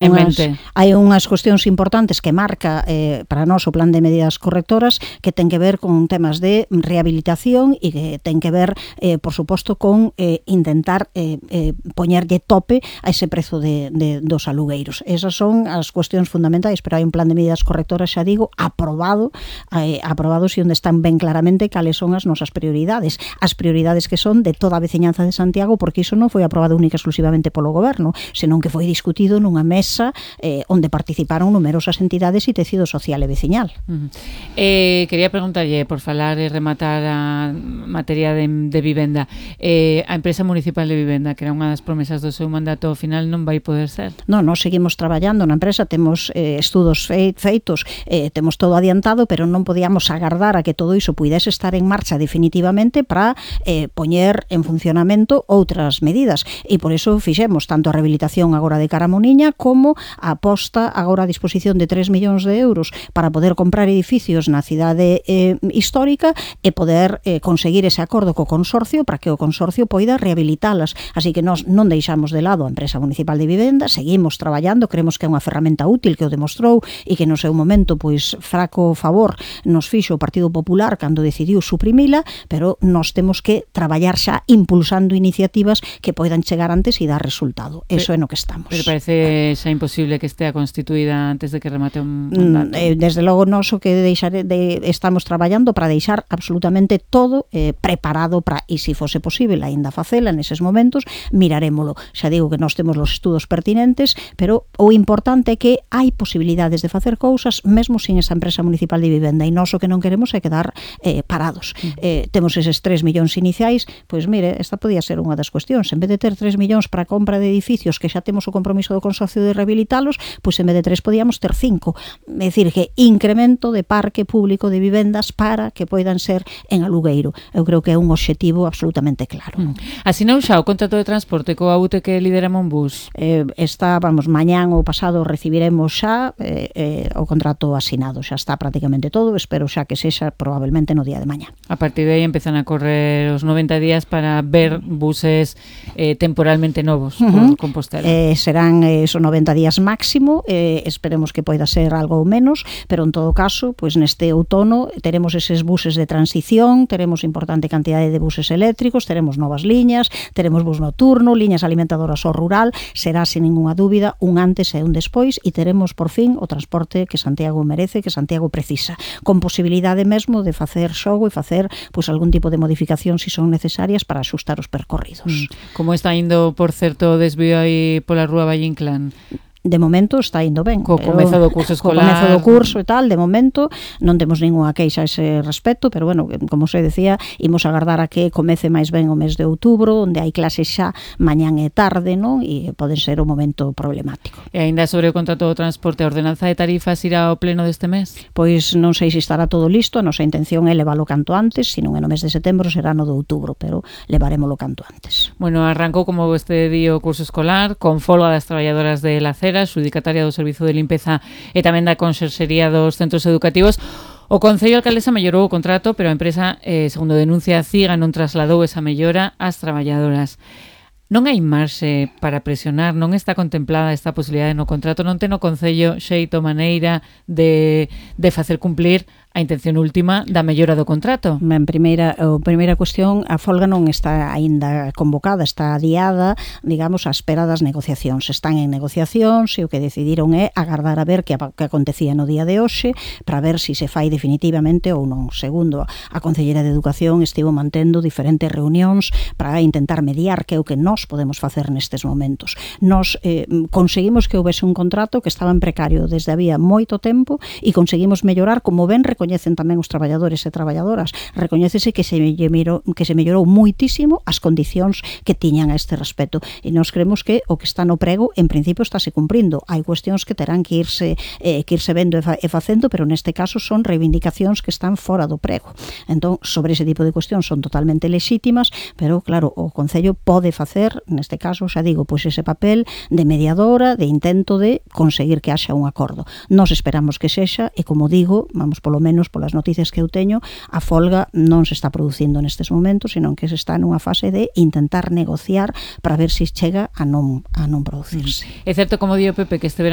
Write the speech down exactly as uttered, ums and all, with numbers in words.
en mente. Hai unhas cuestións importantes que marca eh, para nós o plan de medidas correctoras que ten que ver con temas de rehabilitación e que ten que ver, eh, por suposto, con eh, intentar eh, eh, poñerlle tope a ese prezo de, de, dos alugueiros. Esas son as cuestións fundamentais, pero hai un plan de medidas correctoras, xa digo, aprobado, eh, aprobados e onde están ben claramente cales son as nosas prioridades. As prioridades que son de toda a veciñanza de Santiago, porque iso non foi aprobado única exclusivamente polo goberno, senón que foi discutido nunha mesa Eh, onde participaron numerosas entidades e tecido social e veciñal. Uh -huh. eh, quería preguntarlle, por falar e rematar a materia de, de vivenda, eh, a empresa municipal de vivenda, que era unha das promesas do seu mandato, ao final non vai poder ser? Non, nós seguimos traballando na empresa, temos eh, estudos feitos, eh, temos todo adiantado, pero non podíamos agardar a que todo iso puidese estar en marcha definitivamente para eh, poñer en funcionamento outras medidas, e por iso fixemos tanto a rehabilitación agora de Caramoniña como a aposta agora a disposición de tres millóns de euros para poder comprar edificios na cidade eh, histórica e poder eh, conseguir ese acordo co consorcio para que o consorcio poida rehabilitalas. Así que nós non deixamos de lado a empresa municipal de vivenda, seguimos traballando, creemos que é unha ferramenta útil que o demostrou e que no seu momento pois fraco favor nos fixo o Partido Popular cando decidiu suprimila, pero nós temos que traballar xa impulsando iniciativas que poidan chegar antes e dar resultado. Eso é no que estamos. Pero parece xa imposible que estea constituída antes de que remate un mandato. Eh, desde logo, nós o que deixare de, estamos traballando para deixar absolutamente todo eh, preparado para, e se fose posible aínda facela neses momentos, mirarémolo. Xa digo que nós temos os estudos pertinentes, pero o importante é que hai posibilidades de facer cousas mesmo sin esa empresa municipal de vivenda, e nós o que non queremos é quedar eh, parados. Eh, temos eses tres millóns iniciais, pois mire, esta podía ser unha das cuestións. En vez de ter tres millóns para a compra de edificios que xa temos o compromiso do consorcio de rehabilitalos, pois en vez de tres podíamos ter cinco. É dicir, que incremento de parque público de vivendas para que poidan ser en alugueiro. Eu creo que é un obxectivo absolutamente claro. Mm. Asinou xa o contrato de transporte coa U T que lidera Monbus? Eh, está, vamos, mañán ou pasado recibiremos xa eh, eh, o contrato asinado. Xa está prácticamente todo, espero xa que sexa probablemente no día de mañá. A partir de aí empezan a correr os noventa días para ver buses eh, temporalmente novos uh -huh. por Compostela. Eh, serán eh, esos noventa días máximo, eh, esperemos que poida ser algo menos, pero en todo caso, pois neste outono teremos eses buses de transición, teremos importante cantidade de buses eléctricos, teremos novas liñas, teremos bus nocturno, liñas alimentadoras ao rural, será sin ninguna dúbida un antes e un despois, e teremos por fin o transporte que Santiago merece, que Santiago precisa, con posibilidade mesmo de facer xogo e facer pois algún tipo de modificación se son necesarias para axustar os percorridos. Mm. Como está indo, por certo, o desvío aí pola Rúa Valle Inclán? De momento está indo ben. Co comezo do curso escolar. Co comezo do curso e tal, de momento non temos ningunha queixa a ese respecto, pero bueno, como se decía, imos agardar a que comece máis ben o mes de outubro, onde hai clases xa mañán e tarde, non? E poden ser o momento problemático. E aínda sobre o contrato do transporte, a ordenanza de tarifas irá ao pleno deste mes? Pois non sei se estará todo listo, a nosa intención é leválo canto antes, se non é no mes de setembro será no de outubro, pero levarémolo canto antes. Bueno, arrancou como este día o curso escolar, con folga das traballadoras de la xudicataria do Servizo de Limpeza e tamén da Conserxería dos centros educativos. O Concello Alcaldesa mellorou o contrato, pero a empresa, eh, segundo denuncia a CIGA, non trasladou esa mellora ás traballadoras. Non hai marxe para presionar, non está contemplada esta posibilidade no contrato, non ten o Concello xeito maneira de, de facer cumplir a intención última da mellora do contrato. En primeira, a primeira cuestión, a folga non está aínda convocada, está adiada, digamos, á espera das negociacións. Están en negociacións e o que decidiron é agardar a ver que, que acontecía no día de hoxe para ver se si se fai definitivamente ou non. Segundo, a Concelleira de Educación estivo mantendo diferentes reunións para intentar mediar, que é o que nós podemos facer nestes momentos. Nós eh, conseguimos que houvese un contrato que estaba en precario desde había moito tempo e conseguimos mellorar, como ben recoñecen tamén os traballadores e traballadoras, recoñécese que se mellorou, que se mellorou muitísimo as condicións que tiñan a este respecto, e nós creemos que o que está no prego en principio estáse cumprindo. Hai cuestións que terán que irse eh, que irse vendo e, fa, e facendo, pero neste caso son reivindicacións que están fora do prego. Entón, sobre ese tipo de cuestións son totalmente lexítimas, pero claro, o Concello pode facer, neste caso, xa digo, pois ese papel de mediadora, de intento de conseguir que haxa un acordo. Nós esperamos que sexa, e como digo, vamos polo menos menos polas noticias que eu teño, a folga non se está producindo nestes momentos, senón que se está nunha fase de intentar negociar para ver se chega a non, a non producirse. É certo, como dio Pepe, que este verano